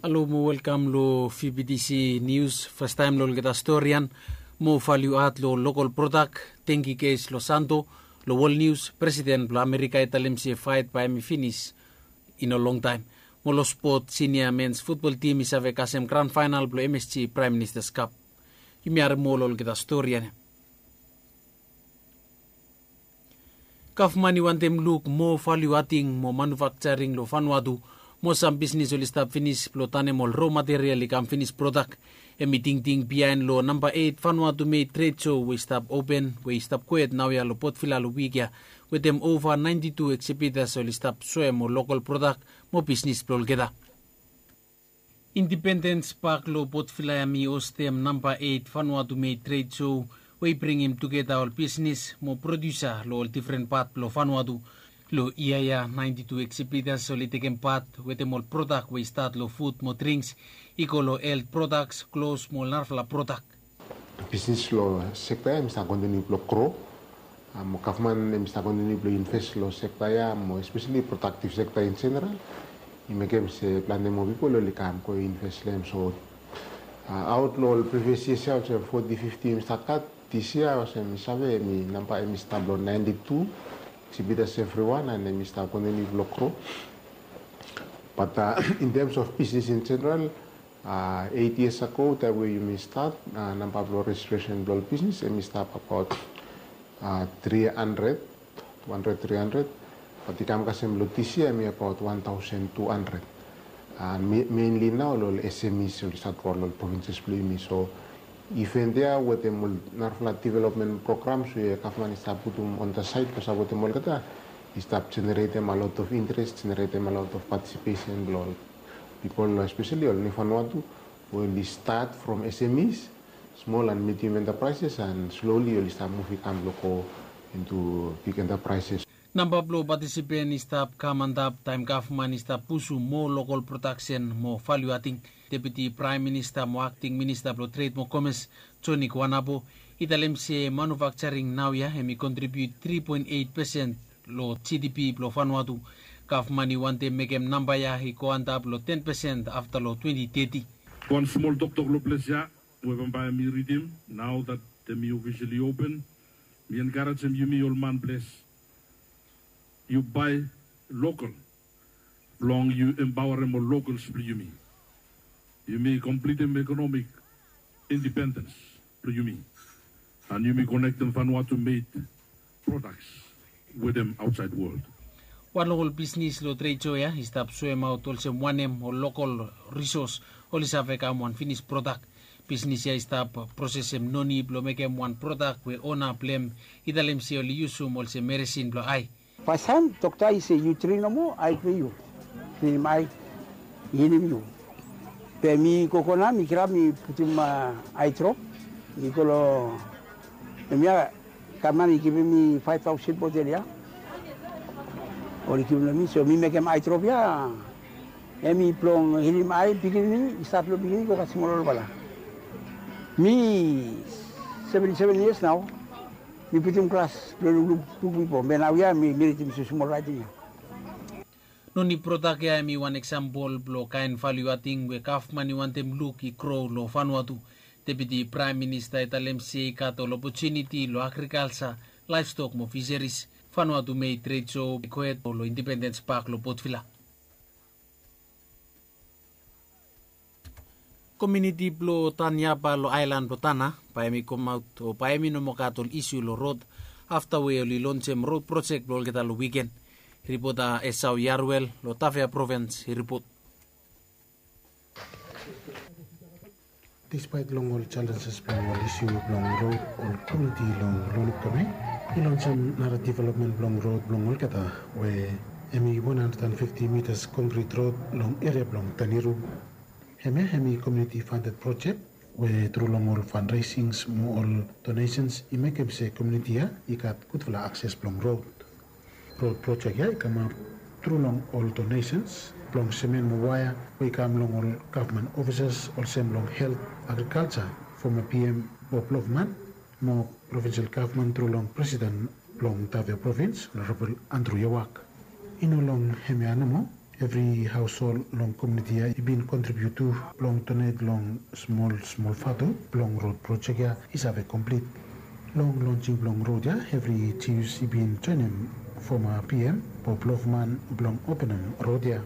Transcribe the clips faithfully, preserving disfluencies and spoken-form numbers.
Halo mo welkam lo V B T C Nius. Fastaem lo olgeta storian, mo valiu at lo lokol prodak, tenki kes lo santo. Lo wol nius, presiden blo Amerika i talem se faet bae hemi finis i no longtaem. Mo lo spot, sinia mens futbol tim i save kasem gran faenal blo M S G Praem Ministas Kap. Yumi harem moa lo olgeta storian ya. Gavman i wantem luk moa valiu ating mo manufakjaring lo Vanuatu. Moa sam bisnis oli stap finis blo tanem ol ro material i kam finis prodak. Hemi tingting biaen lo namba eit Vanuatu Made Trade Show we i stap open, we i stap kwet naoia lo Port Vila lo wik ya, wetem ova naenti tu eksibitas oli stap soem ol lokol prodak mo bisnis blo olgeta. Indipendens Pak lo Port Vila ya hemi hostem namba eit Vanuatu Made Trade Show, we i bringim tugeta ol bisnis mo prodiusa lo ol difren pat blo Vanuatu. Lo yia ya naenti tu eksibitas oli tekem pat wetem ol prodak we i stat lo fud mo drings, i go lo helt prodaks, klos mo ol narafala prodak. Bisnis lo sekta ya hemi stap kontiniu blo gro. Mo gavman hemi stap kontiniu blo invest lo sekta ya, mo espeseli prodaktiv sekta in jeneral. I mekem se plante moa pipol oli kam go invest lo hem. So aot lo ol privias yias ya olsem foti, fifti hemi stap gat, dis yia olsem mi save hemi namba hemi stap lo naenti tu eksibitas evriwan, and hemi stap kontiniu blo gro. Bat in tems of bisnis in jeneral, eit yias ago taem we yumi stat, namba blo rejistresen blo ol bisnis hemi stap abaot tri handred, tu handred, tri handred. Bat i kam kasem lo dis yia hemi abaot wan taosen tu handred. And mainli nao lo ol S M Es oli stat go lo ol provinses blo yumi. So iven ya wetem ol narafala developmen programs we gavman i stap putum on the side blo sapotem olgeta, i stap jeneretem a lot of interes, jeneretem a lot of patisipesen blo ol pipol, espeseli ol niu Vanuatu we oli stat from S M Es, smol and medium enterprises, and slowly oli stap muv i kam blo go into big enterprises. Namba blo patisipen i stap kam antap taem gavman i stap pusum moa lokol prodaksen mo valiu ating. Deputi Praem Minista mo Akting Minista blo Tred mo Komes, Joni Kuanapo, i talem se manufakjaring naoia hemi kontribiut tri poen eit pesen lo G D P blo Vanuatu. Gavman i wantem mekem namba ya i go antap lo ten pesen afta lo twenti teti. Wan smol toktok lo ples ya we bambae mi ridim, nao that hemi ofisali open, mi enkarejem yumi ol manples, yu bae lokol blong yu empaorem ol lokals blo yumi. Yumi komplitem ekonomik indipendens blo yumi, and yumi konektem Vanuatu made prodaks wetem aotsaed wol. Wan long ol bisnis lo tred sho ya i stap soemaot olsem wanem ol lokol risos oli save kam wan finis prodak. Bisnis ya i stap prosesem noni blo mekem wan prodak we ona blo hem i talem se oli yusum olsem meresin blo ae. Fastaem dokta i se yu trin nomo, ae blo yu, trinim ae, i hilim yu. Be mi gogo nao mi kirap mi putum ae drop. Mi go long hemia, gavman i givim mi faef taosen botel ya. Oli givim long mi, so mi mekem ae drop ya. Hemi blong hilim ae pikinini i stat long pikinini go kasem ol olfala. Mi seventi seven yias nao. Mi putum klas blong lukluk buk bifo, be naoia mi ridim smosmol raeting ya. Noni prodak ya hemi wan eksampol blong kaen valiu ating we gavman i wantem luk i gro long Vanuatu. Deputi Praem Minista i talem se i gat ol opotuniti long agrikalja, laevstok mo fiseris. Vanuatu Made Trade Show i gohed long Indipendens Pak long Port Vila. Komuniti blong Taniapa long aelan blong Tana bae hemi komaot o bae hemi no moa gat ol isu long rod afta we oli lonsem rod projek blong olgeta long wiken. Ripota Esau Yaruel long Tafea provins i ripot. Dispaet long ol jalenjes blong ol isu blong rod, ol komuniti long Lonukdome i lonsem nara developmen blong rod blong olgeta we hemi wan handred and fifti mitas konkrit rod long eria blong Taniru. Hemia hemi komuniti fanded projek we tru long ol fanresings mo ol donesens i mekem se komuniti ya i gat gudfala akses blong rod. Rod projek ya i kamap tru long ol donesens blong semen mo waea we i kam long ol gavman ofisas olsem long helt, agrikalja, foma P M Bob Loughman mo provinsel gavman tru long presiden blong Tafea provins Honorabol Andrew Yawak. I no long hemia nomo, Evri haoshol long komuniti ya i bin kontribiut tu blong donet long smol smol vatu blong rod projek ya i save komplit. Long lonsing blong rod ya, evri Jius i bin joenem foma P M Bob Lofman blong openem rod ya.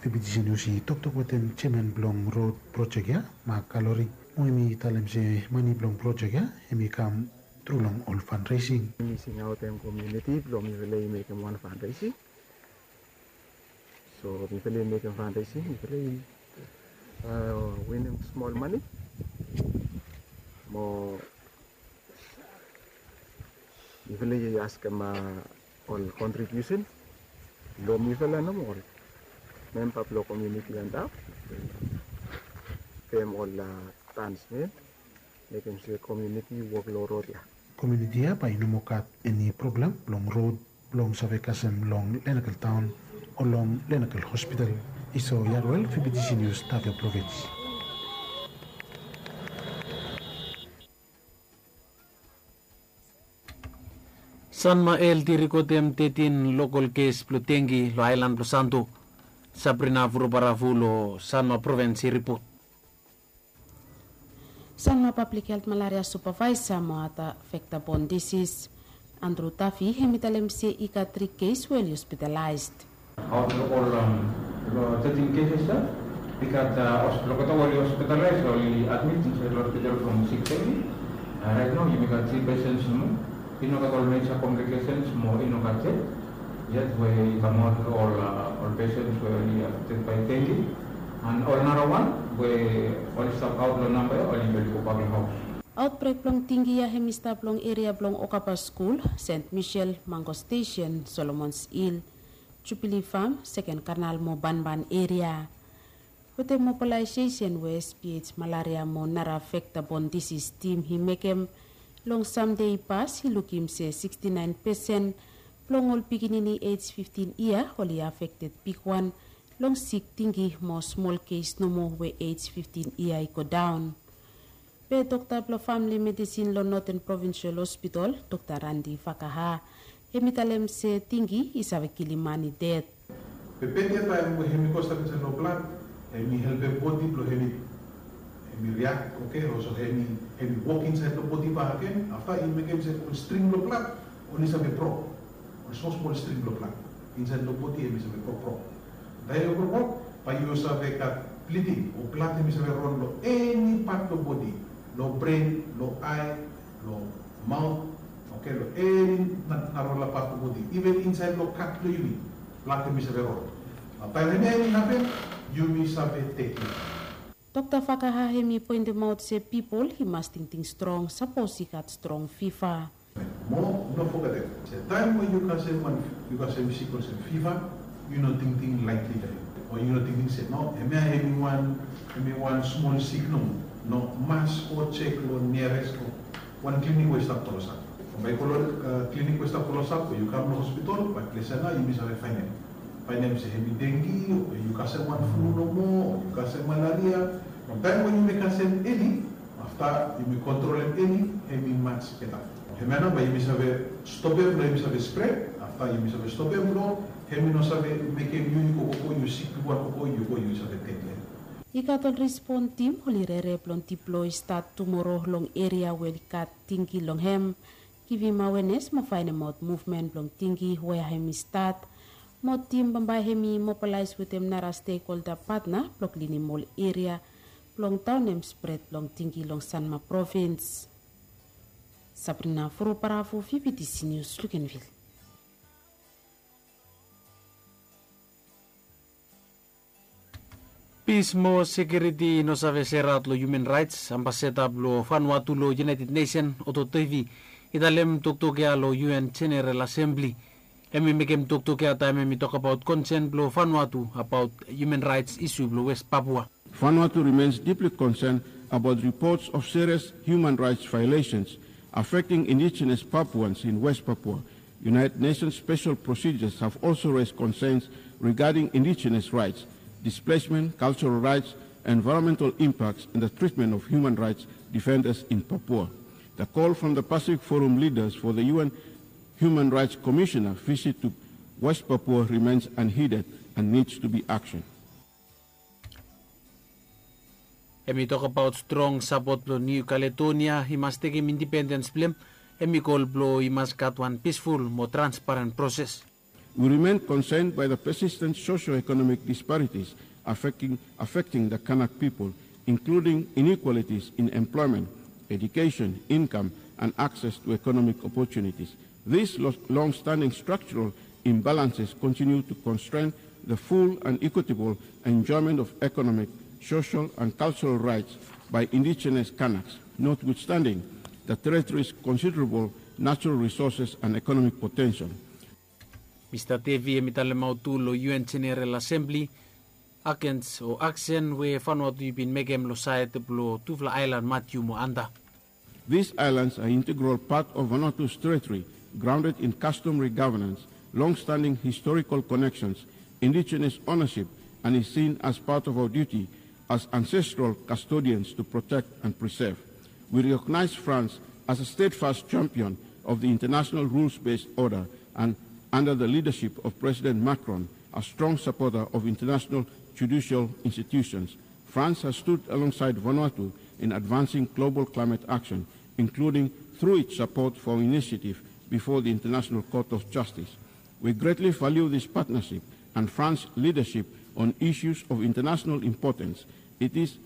Fifty News i toktok wetem jeaman blong rod projek ya, Mak Kalori, mo hem i talem se mane blong projek ya hem i kam tru long ol fundraising. Mi singaotem komuniti blong mifala i mekem wan fundraising. So mifala i mekem fundraising, mifala i winim smol mane mo mifala i askem ol kontribiusen long mifala nomo, ol memba blong komuniti antap, pem ol tansmen, mekem se komuniti i wok long rod ya. Komuniti ya bae i no moa gat eni problem blong rod blong save kasem long Lenakel taon o long Lenakel hospital. Iso Yarwel, Fifty News, Tavio provins. Sanma Health i rekodem tetin lokol kes blong dengi long aelan blong Santo. Sabrina Vurobaravu long Sanma provins i ripot. Sanma Public Health Malaria Supervisor mo Other Vector Borne Disease, Andrew Duffy, hem i talem se i gat tri kes we oli hospitalaes. Aot long ol long tetin keses ya, i gat olgeta we oli hospitalaes, oli admit insaed long hospital from sik teti. Raet nao yumi gat tri pesens nomo. I no gat ol meja komplikesens mo i no gat ded yet we i kamaot long ol pesens we oli afekted bae dengi. An ol narawan we oli stap aot long namba ya oli bin gobak long haos. Aotbrek blong dengi ya hem i stap long eria blong Okaba Skul, Sent Misel, Mango Stesen, Solomons Hil, Jubili Fam, Seken Kanal mo Banban eria. Wetem mobalaesesen we S P H malaria mo nara vekta bon disis tim i mekem long samde i pas, i lukim se siksti naen pesen blong ol pikinini ej fiftin yia oli afekted bigwan long sik dengi mo smol kes nomo we ej fiftin yia i godaon. Be dokta blong famili medisin long Noten Provinsial Hospital, Dokta Randi Fakaha, hem i talem se dengi i save kilim man i ded. Be beta taem we hem i go stap insaed long blad, hem i helpem bodi blong hem i, hem i riak, oke, olsem hem i, hem i wok insaed long bodi bakegen, afta i mekem se ol string blong blad oli save brok. Ol smol smol string blong blad insaed long bodi hem i save brokbrok. Taem i brokbrok, bae yu save gat bliding o blad hem i save ron long eni pat blong bodi, long bren, long ae, long maot, oke, long eni narafala pat blong bodi, iven insaed long kat blong yumi, blad hem i save ron. Nao taem eni hapen, yumi save tekem. Dokta Fakaha hem i poentemaot se pipol i mas tingting strong sapos i gat strong fiva. Mo no fogetem se taem we yu kasem wan, yu kasem sik olsem fiva, yu no tingting laetli long hem, o yu no tingting se no, hemia hem i wan, hem i wan smol sik nomo. No, mas go jek long niares wan klinik we i stap klosap. Bae yu go long klinik we i stap klosap o yu kam long hospital, bae ples ya nao yumi save faenem, faenem se hem i dengi o yu kasem wan flu nomo o yu kasem malaria. Taem we yumi kasem eni, afta yumi kontrolem eni, hem i mas beta. Hemia nao bae yumi save stopem blong hem i save spred, afta yumi save stopem blong hem i no save mekem yu, yu go, go, go, yu sik bigwan, go, go, yu go, yu save ded long hem. I gat ol respon tim oli rere blong diploi stat tumoro long eria we oli gat dengi long hem, givim awenes mo faenemaot muvmen blong dengi wea hem i stat. Mo tim bambae hem i mobalaes wetem nara stekholda patna blong klinim ol eria blong daonem spred blong dengi long Sanma provins. Sabrina Furubarafu, Fifiti Nius, Lukenvil. Pis mo sekiuriti i no save seraot long hiuman raets. Ambasada blong Vanuatu long United Nation, Otto Toivi, i talem toktok ya long U N Jeneral Asembli. Hem i mekem toktok ya taem hem i tokbaot konsen blong Vanuatu abaot hiuman raets isu blong West Papua. Vanuatu remains deeply concerned about reports of serious human rights violations affecting indigenous Papuans in West Papua. United Nations special procedures have also raised concerns regarding indigenous rights, displacement, cultural rights, environmental impacts, and the treatment of human rights defenders in Papua. The call from the Pacific Forum leaders for the U N Human Rights Commissioner visit to West Papua remains unheeded. and needs to be action. Hem i tokabaot strong sapot blong Niu Kaledonia i mas tekem indipendens blong hem, hem i kol blong i mas gat wan pisful mo transparen proses. We remain concerned by the persistent socio-economic disparities affecting, affecting the Kanak people, including inequalities in employment, education, income, and access to economic opportunities. These long-standing structural imbalances continue to constrain the full and equitable enjoyment of economic, social, and cultural rights by indigenous Kanaks, notwithstanding the territory's considerable natural resources and economic potential. Mista Devi hem i talemaot tu long U N General Assembly agens o aksen we Vanuatu i bin mekem long saed blong tufala aelan Matiu mo Anda. These islands are integral part of Vanuatu's territory, grounded in customary governance, long-standing historical connections, indigenous ownership, and is seen as part of our duty as ancestral custodians to protect and preserve. We recognize France as a steadfast champion of the international rules-based order and, under the leadership of President Macron, a strong supporter of international judicial institutions. France has stood alongside Vanuatu in advancing global climate action, including through its support for our initiative before the International Court of Justice. We greatly value this partnership and France's leadership on issues of international importance. It is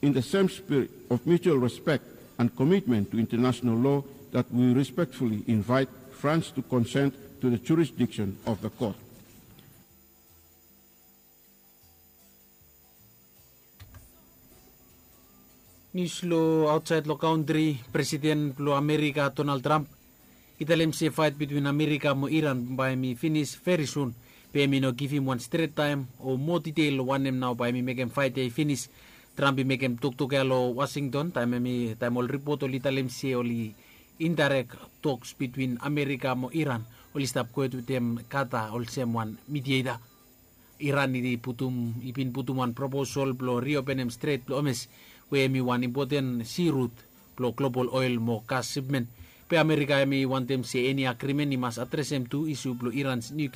in the same spirit of mutual respect and commitment to international law that we respectfully invite France to consent to the jurisdiction of the court. Nius long aotsaed long kantri, Presiden blong Amerika Donald Trump i talem se faet bitwin Amerika mo Iran bae hem i finis veri sun, be hem i no givim wan stret taem o moa ditel long wanem nao bae hem i mekem faet ya i finis. Trump i mekem toktok ya long Washington taem hem i taem ol ripot oli talem se oli indaerek toks bitwin Amerika mo Iran oli stap gohed wetem Kata olsem wan midieta. Iran i putum i bin putum wan proposal blong riopenem stret blong Hormuz we hem i wan impoten sirut blong global oel mo gas sipmen. Be Amerika hem i wantem se eni agrimen i mas adresem tu isu blong Iran nuklia.